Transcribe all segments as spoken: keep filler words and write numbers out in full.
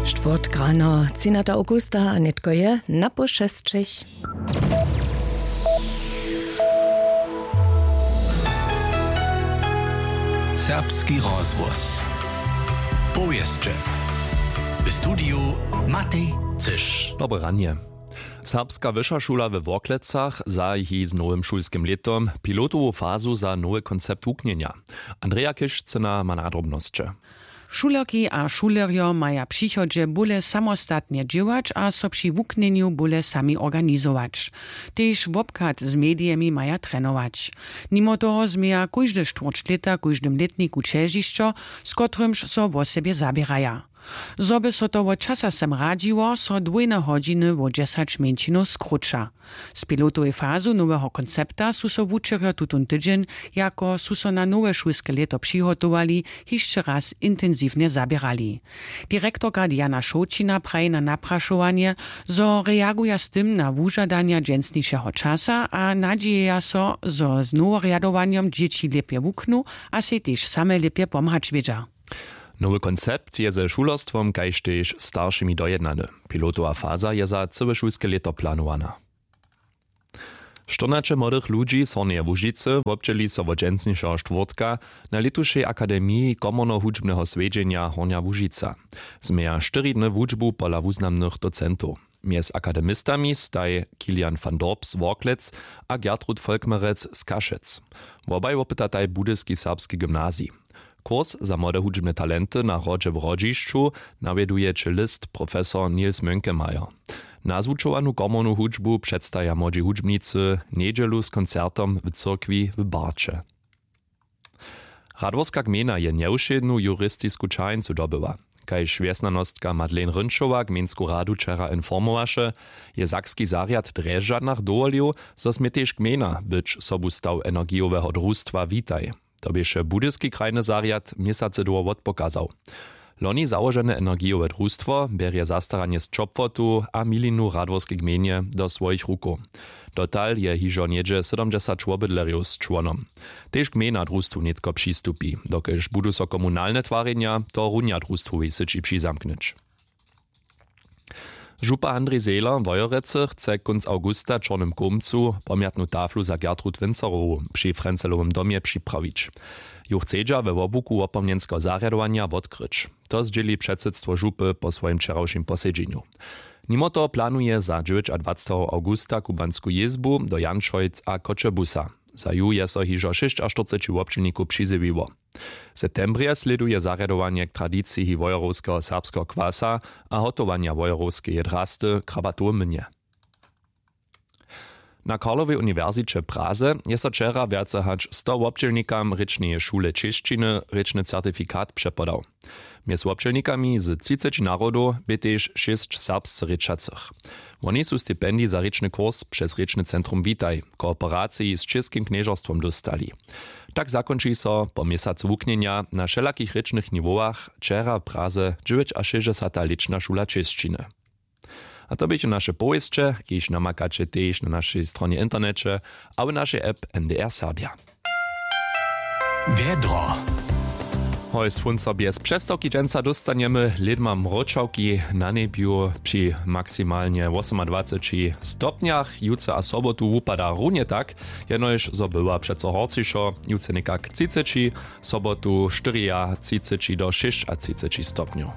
Štwórtk rano, třinata awgusta, a nětko je na poł šesćich. Serbski rozhłos. Powěsće. W studiju Matej Cyš. Dobre ranje. Serbska wyša šula we Worklecach zahaji z nowym šulskim lětom pilotowu fazu za nowy koncept wuknjenja. Andreja Kišcyna ma nadrobnosće. Šulerki a šulerjo maja w přichodźe bóle samostatnje dźěłać a so při wuknjenju bóle sami organizować. Tež wobchad z medijemi maja trenować. Nimo toho změja kóžde štwórć lěta w kóždym lětniku ćežišćo, z kotrymž so wosebje zaběraja. Zo by so to wot časa sem radźiło, so dwójne hodźiny wo dźesać mjeńšinow skróća. Z pilotowej fazu noweho koncepta su so wučerjo tutón tydźeń, jako su so na nowe šulske lěto přihotowali, hišće raz intensiwnje zaběrali. Direktorka Diana Šołćina praji na naprašowanje, zo reaguja z tym na wužadanja dźensnišeho časa a nadźijeja so, zo z noworjadowanjom dźěći lěpje wuknu a sej tež same lěpje pomhać wědźa. Nowy koncept je ze šulerstwom kaž tež staršimi dojednany. Pilotowa faza je za cyłe šulske lěto planowana. Štyrnaće młodych ludźi z Hornjeje Łužicy wobdźěli so wot dźensnišeho štwórtka na lětušej akademiji komornohudźbneho swjedźenja Hornja Łužica. Změja štyri dny wučbu pola wuznamnych docentow. Mjez akademistami staj Kilian van Dorp z Worklec a Gertrud Volkmerec z Kašec. Wobaj wopytataj budyski serbski gymnazij. Kurs za młode hudźbne talenty na hrodźe w Hrodźišću nawjeduje čelist profesor Nils Mönkemeyer. Nazwučowanu komornu hudźbu předstaja młodźi hudźbnicy njedźelu z koncertom w cyrkwi w Barće. Radworska gmejna je njewšědnu juristisku ćaheńcu dobyła. Kaž wjesnjanostka Madeleine Rynčowa gmejnsku radu wčera informowaše, je sakski zarjad w Drježdźanach dowolił, zo smě tež gmejna być sobustaw energijoweho drustwa Witaj. To běše budyski krajny zarjad měsacy dołho wotpokazał. Loni załožene energijowe drustwo bjerje zastaranje z ćopłotu a milinu w Radworskej gmejnje do swojich rukow. Dotal je hižo něhdźe sydomdźesać wobydlerjow z čłonom. Tež gmejna drustwu nětko přistupi, dokelž budu so komunalne twarjenja tohorunja drustwowej syći přizamknyć. Župa Andrej Zehler w Wojerecy chce kónc awgusta w Čornym Kołmcu pomjatnu taflu za Gertrud Winzerowu při Frenzelowym domje připrawić. Ju chcedźa we wobłuku wopomnjenskeho zarjadowanja wotkryć. To zdźěli předsydstwo župy po swojim wčerawšim posedźenju. Nimo toho planuje za dźewjećadwaceteho awgusta kubansku jězbu do Janšojc a Choćebuza. Za ju je so hižo šěsćaštyrceći wobdźělnikow přizjewiło. W septembrje slěduje zarjadowanje k tradiciji wojerowskeho serbskeho kwasa a hotowanja wojerowskeje drasty w Krabatowym młynje. Na Karlowej uniwersiće w Praze je so wčera wjace hač sto wobdźělnikam rěčneje šule čěšćiny rěčny certifikat přepodał. Mjez wobdźělnikami z třiceći narodow bě tež šěsć serbsce rěčacych. Woni su stipendij za rěčny kurs přez rěčny centrum Witaj w kooperaciji z Čěskim knježerstwom dóstali. Tak zakónči so po měsacu wuknjenja na wšelakich rěčnych niwowach wčera w Praze dźewjećašěsćdźesata lěčna šula čěšćiny. A to běchu naše powěsće, kiž namakaće tež na našej stronje w interneće a w našej app N D R Serbja. Wjedro. Hoj, słónco bjez přestawki dźensa dóstanjemy, lědma mróčawki na njebju při maksimalnje wosomadwaceći stopnjach. Jutře a sobotu wupada runje tak, jenož zo bywa přeco horcišo, jutře někak třiceći, sobotu štyriatřiceći do šěsćatřiceći stopnjow.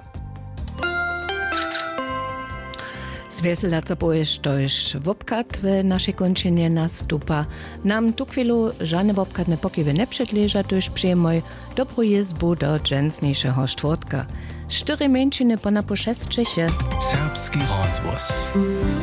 Zwjeselaca powěsć, štož wobchad w našej kónčinje nastupa. Nam tuchwilu žane wobchadne pokiwy njepředleža, tuž přijemoj dobru jězbu do dźensnišeho štwórtka. Štyri mjeńšiny po napoł šesćich je. Serbski rozhłos.